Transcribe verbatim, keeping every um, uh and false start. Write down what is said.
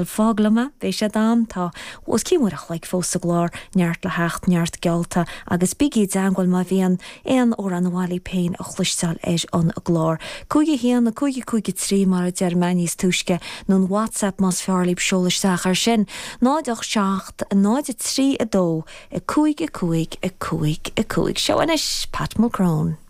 Fág liom é, beidh sé d'am, tá os cionn uair a chloig fós sa gclár, neart le theacht, neart geallta, agus bígí i dteangmháil má bhíonn aon amhrán a b'áil libh féin a chloisteáil ar an gclár. Cúig a haon, a cúig a cúig a trí mar a deir mé níos túisce, nó an WhatsApp más fearr libh seol isteach air sin, náid ocht seacht, náid a trí a dó, a cúig a cúig a cúig a cúig. Seo anois Pat Mulcrone.